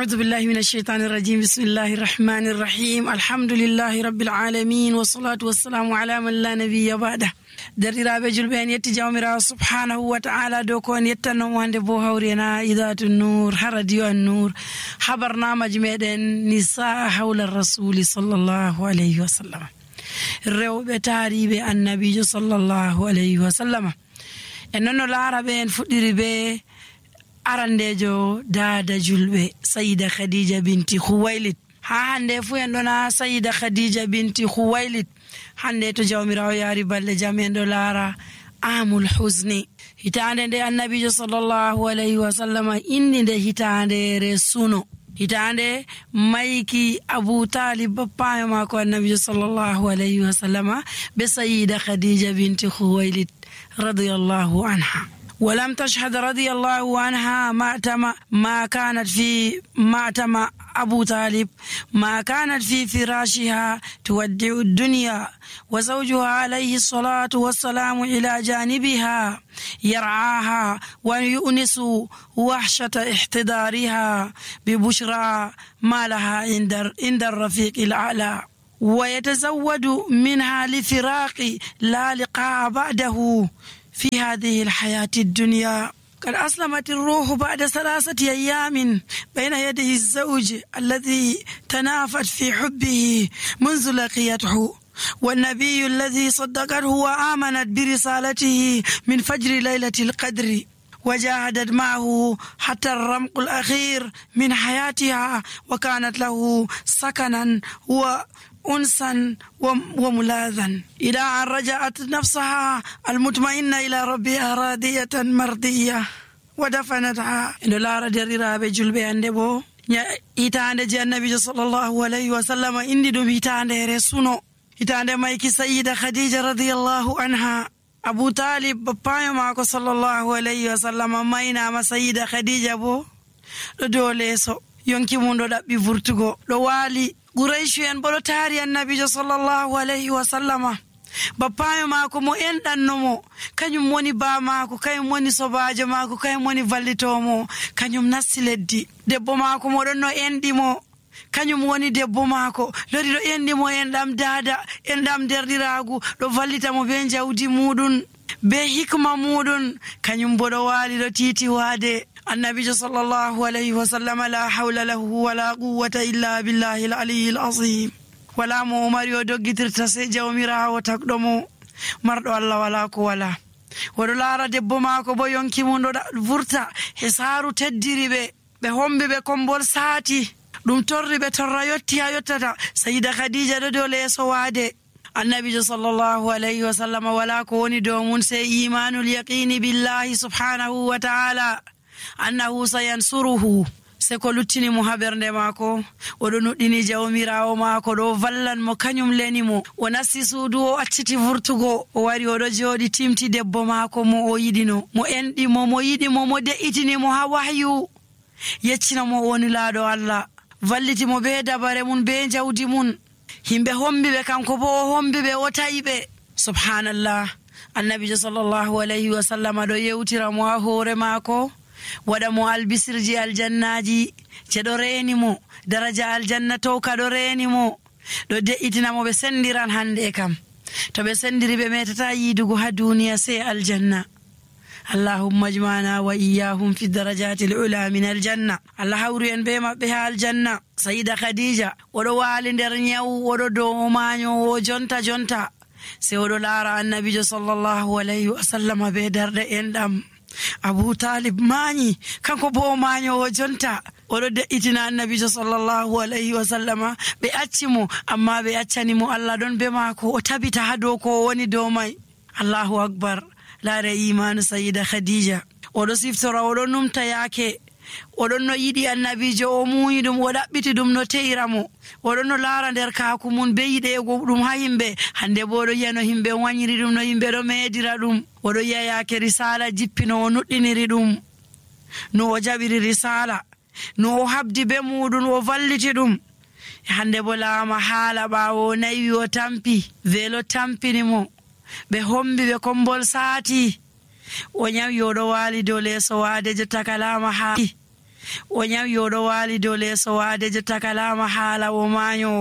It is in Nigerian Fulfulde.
أعوذ بالله من الشيطان الرجيم بسم الله الرحمن الرحيم الحمد لله رب العالمين والصلاة والسلام على من لا نبي بعده درiraɓe julɓe en yetti jawmirawo subhanahu wa ta'ala dow ko en yettannomo hande bo hawrena idatu nour ha radio an nour habarnamaji meɗen nisa hawla rasuli sallallahu alayhi wa sallam rewɓe taariɓe annabijo sallallahu alayhi wa sallam en noon no laaraɓe en fuɗɗiri be arandejo dada julɓe sayida khadija binti khuwailid ha hande fu en ɗona sayida khadija binti khuwailid hande to jawmirawo yaari balɗe jam en ɗo laara amul husni hitande nde annabijo sallallahu alayhi wa sallam indi nde hitandere suno hitande mayki Abu Talib bappayo mako annabijo sallallahu alayhi wa sallam be sayida khadija binti khuwailid radiyallahu anha ولم تشهد رضي الله عنها ما كانت أبو طالب ما كانت في فراشها تودع الدنيا وزوجها عليه الصلاة والسلام إلى جانبها يرعاها ويؤنس وحشة احتضارها ببشرى ما لها عند الرفيق الأعلى ويتزود منها لفراق لا لقاء بعده في هذه الحياة الدنيا. قد أسلمت الروح بعد 3 أيام بين يدي الزوج الذي تنافت في حبه منذ لقيته والنبي الذي صدقته وآمنت برسالته من فجر ليلة القدر وجاهدت معه حتى الرمق الأخير من حياتها وكانت له سكنا أنسا وملاذا إلى أن رجعت نفسها المطمئنة إلى ربها راضية مرضية ودفنتها إن لا ردريرا بجلبي عندبو إتاند جي النبي صلى الله عليه وسلم إندي دوم إتاند رسونو إتاند مايكي سيدة خديجة رضي الله عنها أبو طالب بابايا ماكو صلى الله عليه وسلم ماينا ما سيدة خديجة بو دوليسو يونكي موندو دابي فورتوغو دو والي Quraishu en boɗo taari annabijo sallallahu alayhi wa sallama bappayo maako mo enɗannomo kañum woni baa maako kañum woni sobajo maako kañum woni vallitomo kañum nasti leddi debbo maako moɗon no enɗimo kañum woni debbo maako lori ɗo enɗimo enɗam daada enɗam derɗiragu ɗo vallitamo be jawdi muɗum be hikma muɗum kañum bo ɗo waali ɗo tiiti waade النبي صلى الله عليه وسلم لا حول له ولا قوة إلا بالله العلي العظيم ولا مؤمر يدقتر تسجو ميرا وتقدمو مرد الله ولا كولا ودولار دبو ماكو بو يونكي موندو فرتا حسارو تدري بهم بكمبول ساتي دم توري بتورا يوتتا سيدة خديجة دولي سوادي النبي صلى الله عليه وسلم ولا كوني دومون سي إيمان اليقين بالله سبحانه وتعالى annahu sayansuruhu se ko luttini mo habernde maako o do nuddini jawmirawo maako do vallan mo kanyum leni mo o nasti suudu o acciti vurtugo o wari o do jodi timti debbo maako mo o yidino mo endi mo yidi mo de'itini mo ha wahyu yeccina mo woni laado Allah valliti mo be dabare mun be jawdi mun himbe hombibe kanko bo o hombibe o tayibe subhanallah annabi sallallahu alayhi wa sallam do yewtira mo ha hore maako wada mo albisirji aljannaji cedo reeni mo daraja aljanna to ka do reeni mo do de'itina mo be sendiran hande kam to be sendiri be metata yidugo ha duniya se aljanna allahumma ajmana wa iyyahum fi darajati alula min aljanna allah hawru en be mabbe ha aljanna sayida khadija odo wali der nyaw odo do maño o jonta se odo lara annabi sallallahu alayhi wa sallam be darde endam Abu Talib mañi kanko bo maño o jonta odo de'itina annabi sallallahu alayhi wa sallama be accimo amma be accani mo Allah don be mako o tabita hado ko woni do mai Allahu akbar la ra iman sayyida Khadija odo siftora odo numta yake odon no yidi annabijo o muyi dum o dabbiti dum no teiramo odon no laara der kaaku mun be yide go dum ha himbe hande bo do yano himbe wanyiri dum no himbe do medira dum odo yaya ke risala jippino o nuddiniri dum no o jabiri risala no o habdi be mudun o valliti dum hande bo laama haala bawo nayi o tampi velo tampini mo be hombi be kombol saati o nyawi o do wali do leso waade jotta kalama ha o nyawi oɗo wali dow leeso wadejo takalama haala o mayo.